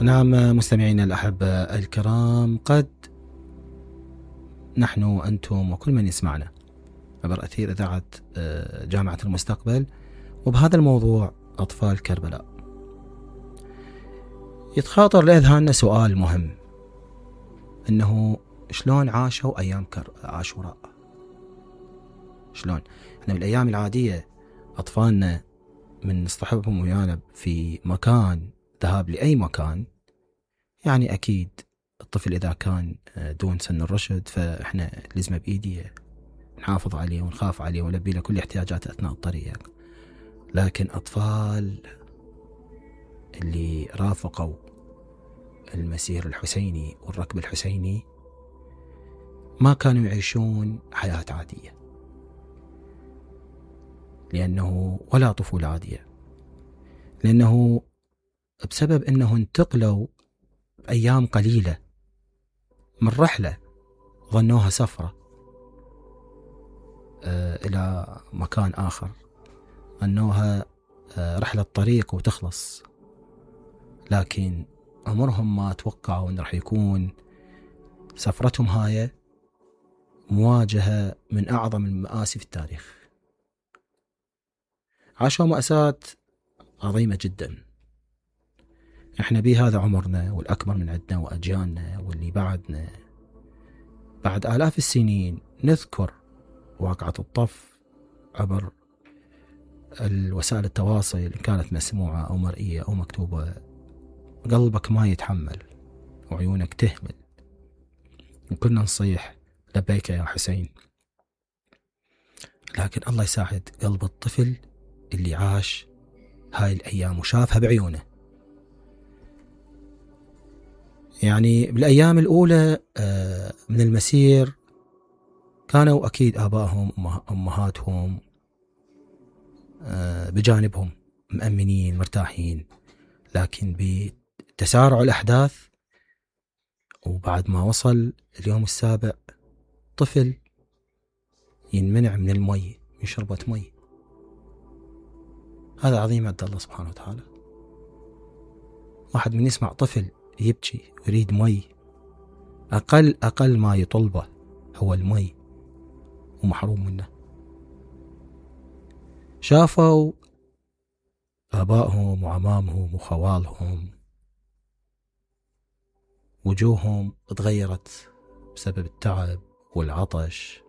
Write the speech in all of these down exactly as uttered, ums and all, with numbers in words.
نعم مستمعينا الأحبة الكرام، قد نحن أنتم وكل من يسمعنا عبر أثير إذاعة جامعة المستقبل وبهذا الموضوع أطفال كربلاء، يتخاطر لأذهاننا سؤال مهم، إنه شلون عاشوا أيام عاشوراء؟ شلون؟ إحنا بالأيام العادية أطفالنا من نصطحبهم ويانا في مكان ذهاب لأي مكان، يعني أكيد الطفل إذا كان دون سن الرشد فإحنا لازمه بإيدي نحافظ عليه ونخاف عليه ونلبي له كل احتياجاته أثناء الطريق. لكن أطفال اللي رافقوا المسير الحسيني والركب الحسيني ما كانوا يعيشون حياة عادية، لأنه ولا طفولة عادية، لأنه بسبب أنه انتقلوا أيام قليلة من رحلة ظنوها سفرة آه إلى مكان آخر، ظنوها آه رحلة طريق وتخلص، لكن عمرهم ما توقعوا أن رح يكون سفرتهم هاي مواجهة من أعظم المآسي في التاريخ. عاشوا مأساة عظيمة جدا. احنا بهذا عمرنا والأكبر من عندنا وأجيالنا واللي بعدنا بعد آلاف السنين نذكر واقعة الطف عبر الوسائل التواصل، إن كانت مسموعة أو مرئية أو مكتوبة، قلبك ما يتحمل وعيونك تهمل وكنا نصيح لبيك يا حسين. لكن الله يساعد قلب الطفل اللي عاش هاي الأيام وشافها بعيونه. يعني بالأيام الأولى من المسير كانوا أكيد آبائهم أمهاتهم بجانبهم مأمنين مرتاحين، لكن بتسارع الأحداث وبعد ما وصل اليوم السابع طفل ينمنع من المي، من شربة مي. هذا عظيم عند الله سبحانه وتعالى. واحد من يسمع طفل يبكي ويريد مي، أقل أقل ما يطلبه هو المي ومحروم منه. شافوا آبائهم وعمامهم وخوالهم وجوههم تغيرت بسبب التعب والعطش،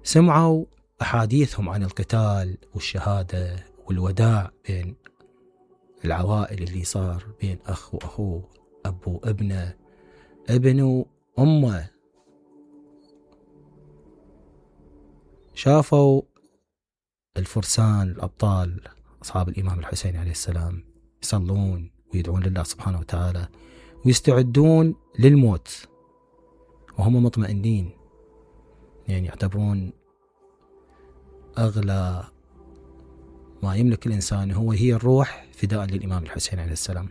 سمعوا أحاديثهم عن القتال والشهادة والوداع بين العوائل اللي صار بين أخ وأخوه، أب وابنه، ابن وأمه. شافوا الفرسان الأبطال أصحاب الإمام الحسين عليه السلام يصلون ويدعون لله سبحانه وتعالى ويستعدون للموت وهم مطمئنين، يعني يعتبرون أغلى ما يملك الإنسان هو هي الروح فداء للإمام الحسين عليه السلام،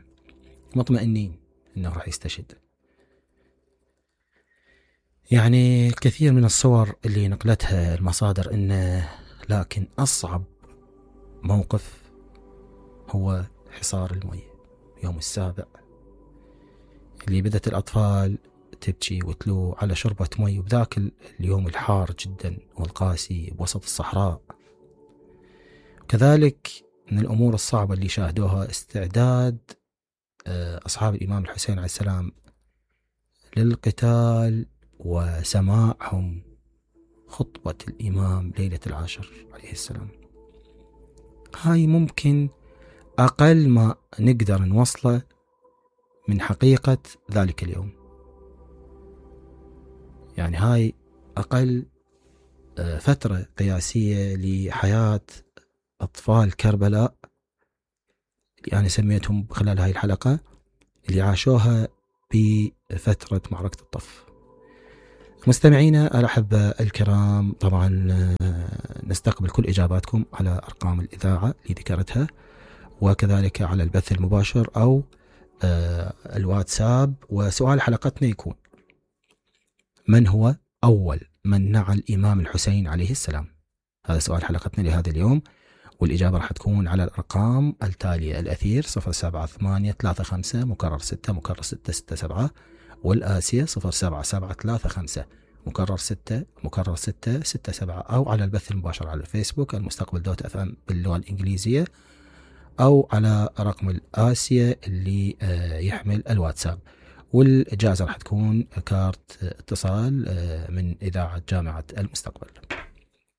مطمئنين أنه راح يستشهد. يعني الكثير من الصور اللي نقلتها المصادر إنه، لكن أصعب موقف هو حصار المي يوم السابع، اللي بدت الأطفال تبكي وتلو على شربة مي وبذاك اليوم الحار جدا والقاسي بوسط الصحراء. كذلك من الأمور الصعبة اللي شاهدوها استعداد أصحاب الإمام الحسين عليه السلام للقتال وسماعهم خطبة الإمام ليلة العاشر عليه السلام. هاي ممكن أقل ما نقدر نوصله من حقيقة ذلك اليوم، يعني هاي أقل فترة قياسية لحياة أطفال كربلاء اللي أنا سميتهم خلال هاي الحلقة اللي عاشوها بفترة معركة الطف. مستمعينا الأحبة الكرام، طبعا نستقبل كل إجاباتكم على أرقام الإذاعة اللي ذكرتها، وكذلك على البث المباشر أو الواتساب. وسؤال حلقتنا يكون: من هو أول من نعى الإمام الحسين عليه السلام؟ هذا سؤال حلقتنا لهذا اليوم، والإجابة راح تكون على الأرقام التالية: الأثير صفر سبعة ثمانية ثلاثة خمسة مكرر ستة مكرر ستة ستة سبعة، والآسية صفر سبعة سبعة ثلاثة خمسة مكرر ستة مكرر ستة ستة سبعة، أو على البث المباشر على الفيسبوك المستقبل دوت اف ام باللغة الإنجليزية، أو على رقم الآسية اللي يحمل الواتساب. والجائزة راح تكون كارت اتصال من إذاعة جامعة المستقبل.